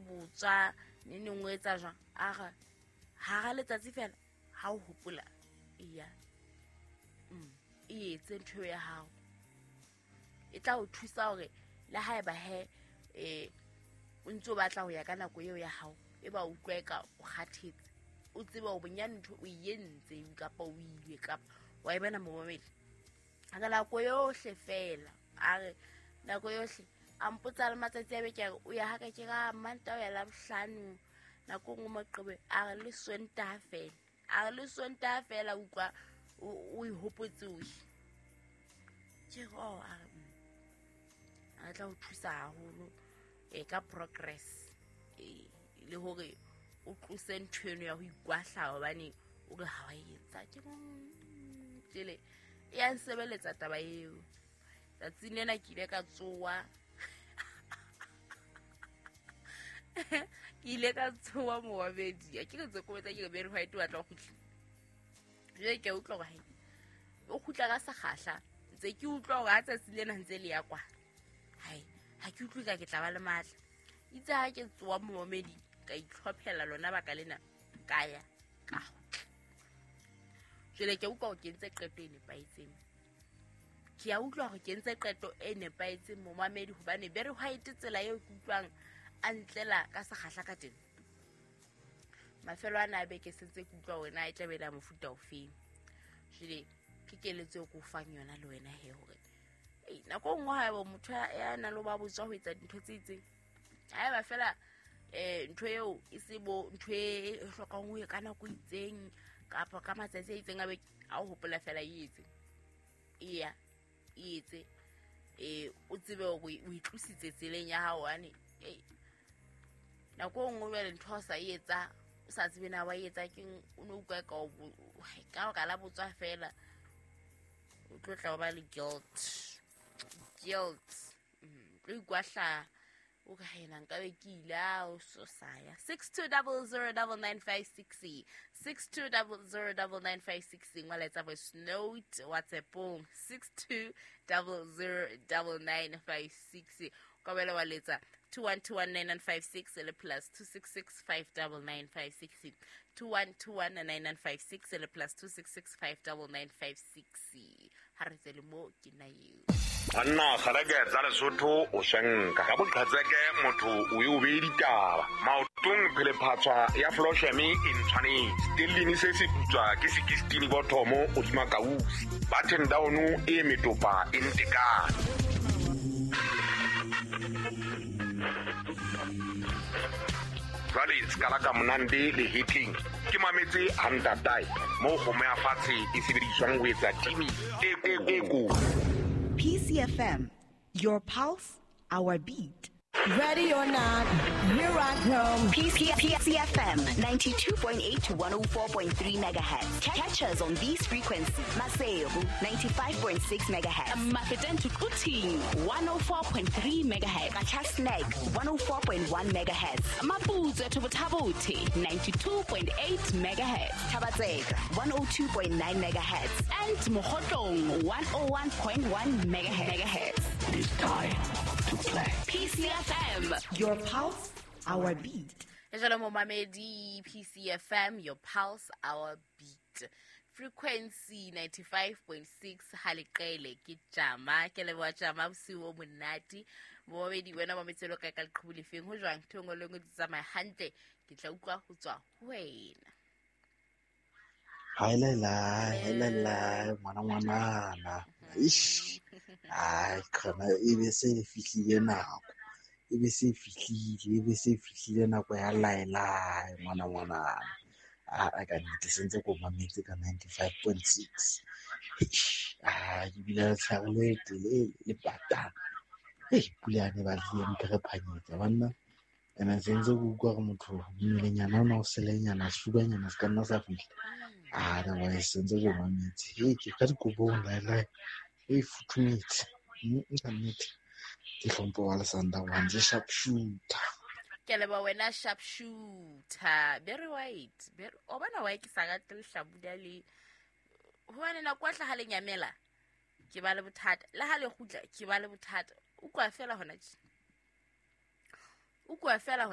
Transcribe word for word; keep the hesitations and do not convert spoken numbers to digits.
botswa ne neng o etsa jwang a re hara letsatsi fela ha o hopola iya mm e etse ntho ya hao e tla o thusa hore le haeba he eh o ntso batla ho ya ka nako eo ya hao e ba utlweka o kgathetse o tseba o bonyane ntho o entse kapa o ile kapa wa e bona momamedi a ka nako yohle fela a re nako yohle a mpotsa le matsatsi a beke o ya haka ke ka Manta o ya la bohlano nako nngwe Moqebelo a re le Sontaha fela a re le Sontaha fela utlwa o ihopotse o ke go a re a tla o thusa haholo e ka progress e le hore o tlose ntho eno ya ho ikwahla hobane o re ha wa etsa ke tjele e a nsebeletsa taba eo tsatsing lena ke ile ka tsoa ke ile ka tsoa moabedi a ke re tse kobetsa ke re Barry White wa tla kgutla jwale ke utlwa hore hai o kgutla ka sekgahla ntse ke utlwa hore ha tsatsi lena ntse le ya kwa hai ha ke utlwe ka ke tla ba le matla itse ha ke tsoa moamedi ka itlhophela lona baka lena ka ya ka jwale ke utlwa hore ke entse qeto e nepahetseng ke a utlwa hore ke entse qeto e nepahetseng momamedi hobane Barry White tsela eo ke utlwang a ntlela ka sekgahla ka teng mafelo ana a beke sentse ke utlwa wena e tla be la mofuta ofeng jwale ke keletso eo ke o fang yona le wena he hore ei nako nngwe haeba motho ya nang le ba botswa ho etsa dintho tse itseng haeba fela eh ntho eo e se bo ntho e hlokang ho ye ka nako itseng kapa ka matsatsi a itseng a beke a o hopola fela e etse eya e etse eh o tsebe hore o itlositse tseleng ya hao ane ei nako nngwe jwale ntho o sa e etsa o sa tsebe na wa e etsa keng o no utlwa ka ka ka la botswa fela o tlo tla ba le guilt guilt tlo ikwahla o ka ena nka be ke ile a o so saya six two zero zero nine nine five six six two zero zero nine nine five six ngwala etsa voice note WhatsApp-ong six two zero zero nine nine five six ka bela wa letsa two one two one nine nine five six le plus two six six five nine nine five six two one two one nine nine five six le plus two six six five nine nine five six ha re tsele mo ke na eo Anna kgareke tsa Lesotho o shanka ka boqhatseke motho o e o be ditaba maotong phele phatswa ya flosheme e ntshwanetse stellini se se putswa ke sixteen bothomo o dima kausi button down e metopa e ntekane jwale skala ka monande le hitting ke mametse hantatai mo kgomo ya fatshe e sebediswang ho etsa timi e e ko P C F M, your pulse, our beat. Ready or not, here I come. P C F M, ninety-two point eight to one oh four point three megahertz. Catch us on these frequencies. Maseru, ninety-five point six megahertz. Mafeteng to Quthing, one oh four point three megahertz. Qacha's one oh four point one megahertz. Maputsoe to Botha-Bothe, ninety-two point eight megahertz. Thaba-Tseka, one oh two point nine megahertz. And Mokhotlong, one oh one point one megahertz. It is time to play. P C F M, your pulse, our beat. Jalo momamedi, P C F M, your pulse, our beat. Frequency ninety-five point six haleqele ke jama ke leboha jama bosiu bo monate momamedi wena mametselo ka ka leqhubu lefeng ho jwang thongo le ngwe di tsamaya hantle ke tla utlwa ho tswa ho wena. Hi la la la ngwana ngwanana ish ai khona e be se e fihlile nako e be se fihlile e be se fihlile nako ya laela ngwana ngwanana a ka nnete sentse ko mametse ka ninety-five point six ah ke bile tshare le tele le patana ei pula ne ba tle mphe phanyetsa banna ene sentse go utlwa gore motho mmelenyana ona o selenyana sefubanyana se ka nna sa fihla ah na wa sentse go mametse e ke ka dikobong laela e futhumetse nka nnete ke hlompho wa Lesanda wa ntse sharp shooter ke leba wena sharp shooter Barry White Barry o bona wa ke sa rate lehlabula le hobane nako ya hlaha le nyamela ke ba le bothata le ha le kgutla ke ba le bothata o kwa fela hona tje o kwa fela hona.